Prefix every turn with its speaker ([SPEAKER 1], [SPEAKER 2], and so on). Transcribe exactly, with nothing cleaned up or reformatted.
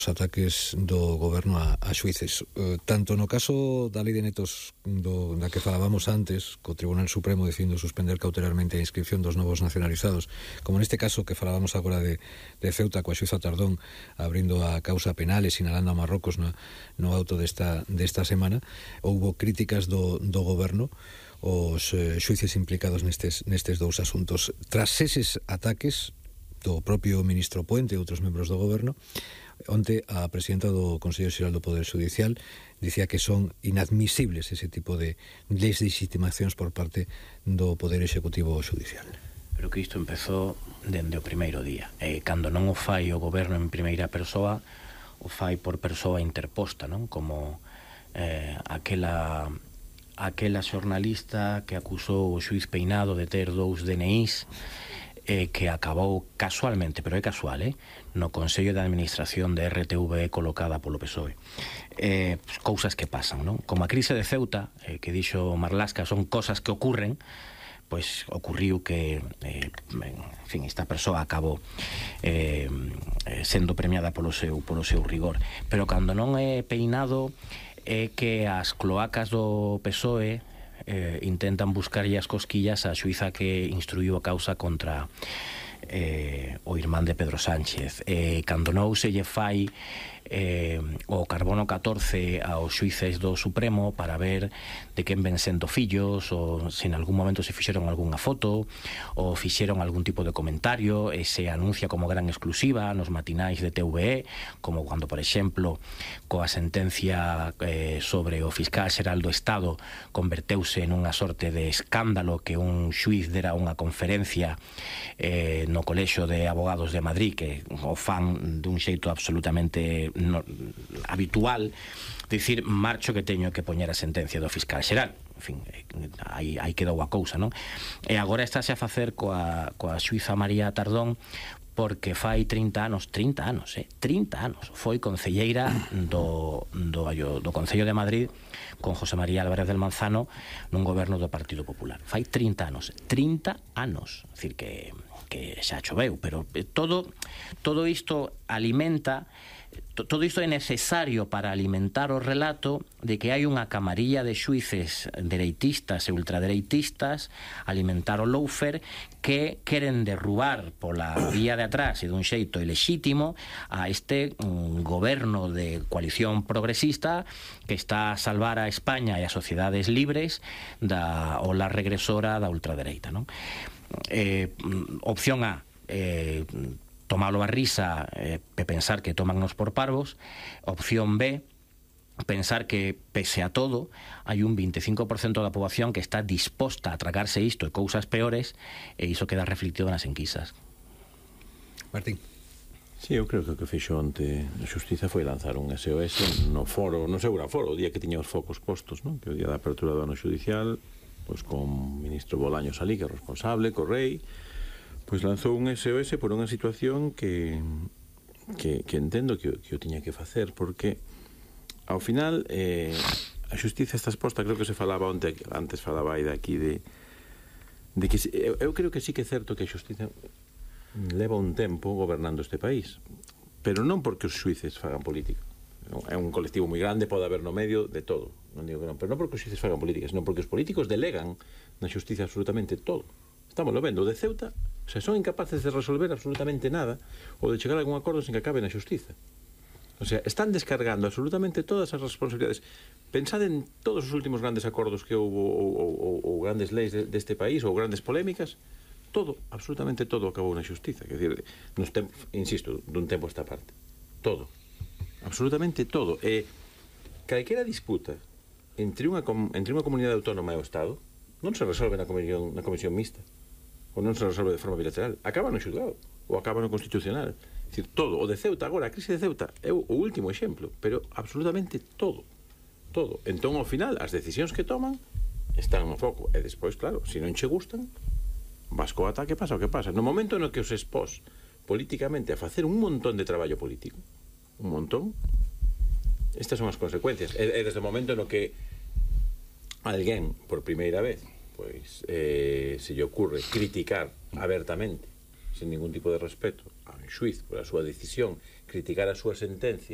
[SPEAKER 1] os ataques do goberno a, a xuíces. Uh, tanto no caso da lei de netos do, da que falábamos antes, co Tribunal Supremo decidindo suspender cautelarmente a inscripción dos novos nacionalizados, como neste caso que falábamos agora de, de Ceuta, coa xuíza Tardón abrindo a causa penal e sinalando a Marrocos no, no auto desta, desta semana, houbo críticas do, do goberno os eh, xuíces implicados nestes, nestes dous asuntos. Tras eses ataques do propio ministro Puente e outros membros do goberno, onte a presidenta do Consello Xeral do Poder Judicial dicía que son inadmisibles ese tipo de deslegitimacións por parte do Poder Executivo Judicial.
[SPEAKER 2] Pero que isto empezou dende o primeiro día. E cando non o fai o goberno en primeira persoa, o fai por persoa interposta, non? Como eh, aquela aquela xornalista que acusou o xuiz Peinado de ter dous D N Is, eh, que acabou casualmente, pero é casual, eh, no Consello de Administración de R T V E colocada polo P S O E. Eh, pues, cousas que pasan, non? Como a crise de Ceuta, eh, que dixo Marlaska, son cosas que ocurren, pois ocurriu que, eh, en fin, esta persoa acabou eh, sendo premiada polo seu, polo seu rigor. Pero cando non é Peinado, é que as cloacas do P S O E Eh, intentan buscarlle as cosquillas a xuíza que instruiu a causa contra eh, o irmán de Pedro Sánchez. Eh, cando non se lle fai eh, o carbono catorce aos xuíces do Supremo para ver de quen ven sendo fillos, ou se en algún momento se fixeron algunha foto ou fixeron algún tipo de comentario, e se anuncia como gran exclusiva nos matinais de T V E, como cando, por exemplo, coa sentencia eh, sobre o fiscal xeral do Estado converteuse en unha sorte de escándalo que un xuiz dera unha conferencia eh, no Colexio de Abogados de Madrid, que o fan dun xeito absolutamente no, habitual, dicir, marcho que teño que poñer a sentencia do fiscal xeral. En fin, aí, aí quedou a cousa, non? E agora estáse a facer coa, coa xuíza María Tardón, porque fai trinta anos, trinta anos, eh, trinta anos, foi concelleira do, do, do Concello de Madrid con José María Álvarez del Manzano nun goberno do Partido Popular. Fai trinta anos, trinta anos, é dicir que, que xa choveu, pero todo, todo isto alimenta, todo isto é necesario para alimentar o relato de que hai unha camarilla de xuíces dereitistas e ultradereitistas, alimentar o lawfare, que queren derrubar pola vía de atrás e dun xeito ilexítimo a este um, goberno de coalición progresista que está a salvar a España e as sociedades libres da ola regresora da ultradereita, non? Eh, opción A, eh, tomalo a risa e eh, pensar que tómannos por parvos. Opción B, pensar que, pese a todo, hai un veinticinco por ciento da poboación que está disposta a tragarse isto e cousas peores, e iso queda reflectido nas enquisas.
[SPEAKER 1] Martín.
[SPEAKER 3] Sí, eu creo que o que fixo onte a Xustiza foi lanzar un S O S no foro, no seu foro, o día que tiña os focos postos, non? Que o día da apertura do ano judicial, pois con o ministro Bolaños ali, que é responsable, co rei, pois lanzou un S O S por unha situación que, que, que entendo que, que o tiña que facer, porque ao final eh, a xustiza está exposta, creo que se falaba onte, antes falaba aí de aquí de, de que eu, eu creo que sí que é certo que a xustiza leva un tempo gobernando este país, pero non porque os xuíces fagan política. É un colectivo moi grande, pode haber no medio de todo, non digo que non, pero non porque os xuíces fagan política, senón porque os políticos delegan na xustiza absolutamente todo. Estamos lo vendo, o de Ceuta, o sea, son incapaces de resolver absolutamente nada ou de chegar a algún acordo sin que acabe na xustiza. O sea, están descargando absolutamente todas as responsabilidades. Pensad en todos os últimos grandes acordos que houve ou, ou, ou, ou grandes leis de, deste país ou grandes polémicas, todo, absolutamente todo acabou na xustiza. Quer dizer, nos tempos, insisto, dun tempo esta parte. Todo. Absolutamente todo. E calquera disputa entre unha, entre unha comunidade autónoma e o Estado non se resolve na comisión, na comisión mixta, ou non se resolve de forma bilateral, acaba no xulgado ou acaba no constitucional. É dicir, todo, o de Ceuta agora, a crise de Ceuta é o último exemplo, pero absolutamente todo, todo. Entón, ao final, as decisións que toman están no foco, e despois, claro, se non che gustan, vas co ataque, pasa o que pasa. No momento no que os expós políticamente a facer un montón de traballo político, un montón, estas son as consecuencias. E, e desde o momento no que alguén, por primeira vez, pois, eh, se lle ocurre criticar abertamente, sin ningún tipo de respeto a un xuiz por a súa decisión, criticar a súa sentencia,